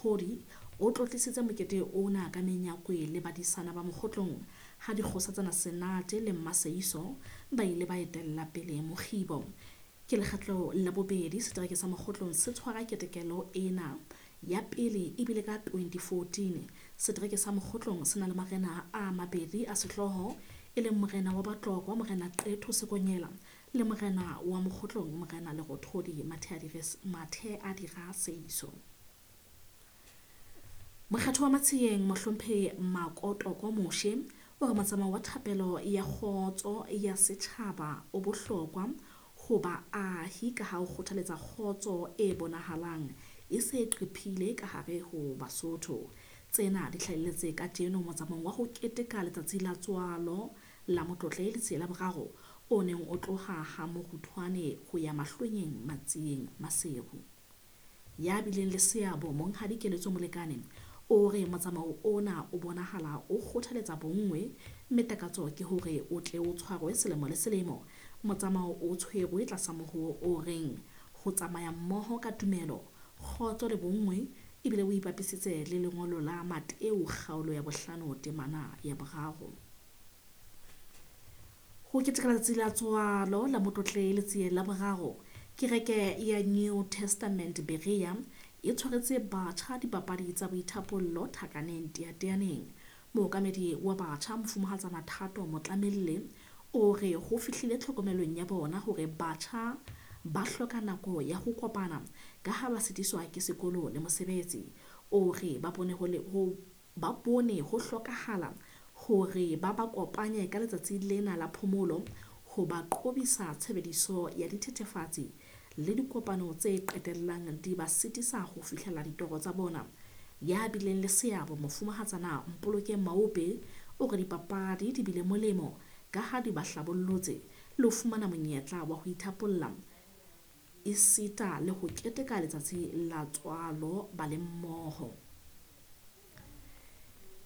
Lerothodi o tlotlisitse mokete ona ka menyakwe le badisana ba Mokgotlong ha dikgosatsana Senate le Mmaseiso ba ile ba etella pele mokgibo. Ke lekgetlo la bobedi setereke sa Mokgotlong se tshwara ketekelo ena. Ya pele ebile ka 2014. Setereke sa Mokgotlong se na le marena a mabedi a sehlooho, e leng morena wa Batlokwa Morena Qetho Sekonyela le morena wa Mokgotlong Morena Lerothodi Matheadira Seiso. Mokgatho wa Matsieng Mohlomphehi Makotoko Moshe o re motsamao wa thapelo ya kgotso ya setjhaba o bohlokwa ho baahi ka ha o kgothaletsa kgotso e bonahalang e se qephile ka hare ho Basotho. Tsena di hlahelletse kajeno motsamaong wa ho keteka letsatsi la tswalo la Motlotlehi Letsie la Boraro o neng o tloha ha Moruthwane ho ya Mahlwenyeng Matsieng Maseru. Ya bileng le seabo Monghadi Keletso Molekane o re motsamao ona o bonahala o kgothaletsa bonngwe mme takatso ke hore o tle o tshwarwe selemo le selemo. Motsamao o tshwerwe tlasa mohoo o reng ho tsamaya mmoho ka tumelo, kgotso le bonngwe, ebile o ipapisitse le lengolo la Mateu kgaolo ya bohlano temana ya boraro. Ho keteka letsatsi la tswalo la Motlotlehi Letsie la Boraro, kereke ya New Testament Berea e tshwaretse batjha dipapadi tsa boithapollo Thakaneng Teateaneng. Mookamedi wa batjha Mofumahatsana Thato Motlamelle o re ho fihlile tlhokomelong ya bona hore batjha ba hloka nako ya ho kopana ka ha ba sitiswa ke sekolo le mosebetsi. O re ba bone ho hlokahala hore ba ba kopanye ka letsatsi lena la phomolo ho ba qobisa tshebediso ya dithethefatsi le dikopano tse qetellang di ba sitisa ho fihlela ditoro tsa bona. Ya bileng le seabo Mofumahatsana Mpolokeng Maope o re dipapadi di bile molemo ka ha di ba hlabollotse le ho fumana monyetla wa ho ithapolla esita le ho keteka letsatsi la tswalo ba le mmoho.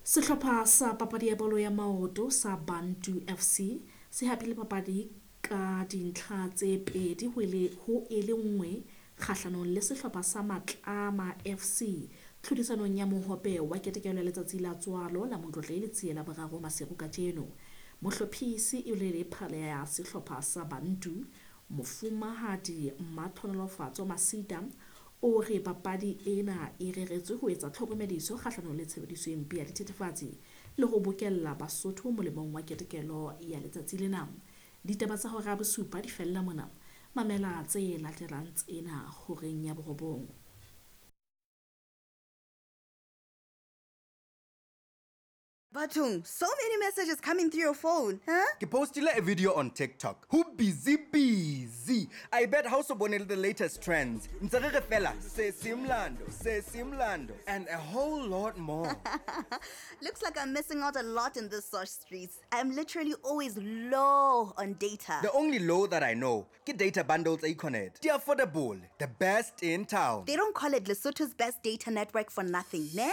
Sehlopha sa papadi ya bolo ya maoto sa Bantu FC se hapile papadi ka dintlha tse pedi ho e le nngwe kgahlanong le sehlopha sa Matlama FC tlhodisanong ya mohope wa ketekelo ya letsatsi la tswalo la Motlotlehi Letsie la Boraro Maseru kajeno. Mohlophisi e le phala ya sehlopha sa Bantu Mofumahadi Mmatlhonolofatso Masita o re papadi ena e reretswe ho etsa tlhokomediso kgahlanong le tshebediso e mpe ya dithethefatsi le ho bokella Basotho molemong wa ketekelo ya letsatsi lena. Ditaba tsa hora ya bosupa di fella mona. Mamela tse latelang tsena horeng ya borobong. Batung, so many messages coming through your phone, huh? Ke postile a video on TikTok. Who busy busy. I bet ha o so bone the latest trends. Ntse re re fela se simlando, se simlando and a whole lot more. Looks like I'm missing out a lot in the source streets. I'm literally always low on data. The only low that I know, ke data bundles Econet. The affordable, the best in town. They don't call it Lesotho's best data network for nothing, ne?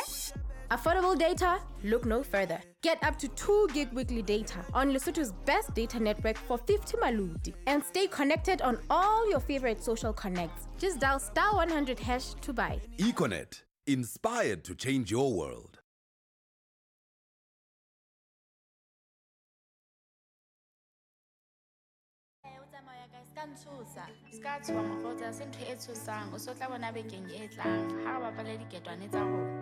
Affordable data? Look no further. Get up to 2 gig weekly data on Lesotho's best data network for 50 maluti and stay connected on all your favorite social connects. Just dial *100# to buy. Econet, inspired to change your world. Tsamaya kae se ka ntshosa se ka tshoha mokgotsi ha se ntho e tshosang o so tla bona bekeng e tlang ha re bapale diketwane tsa rona.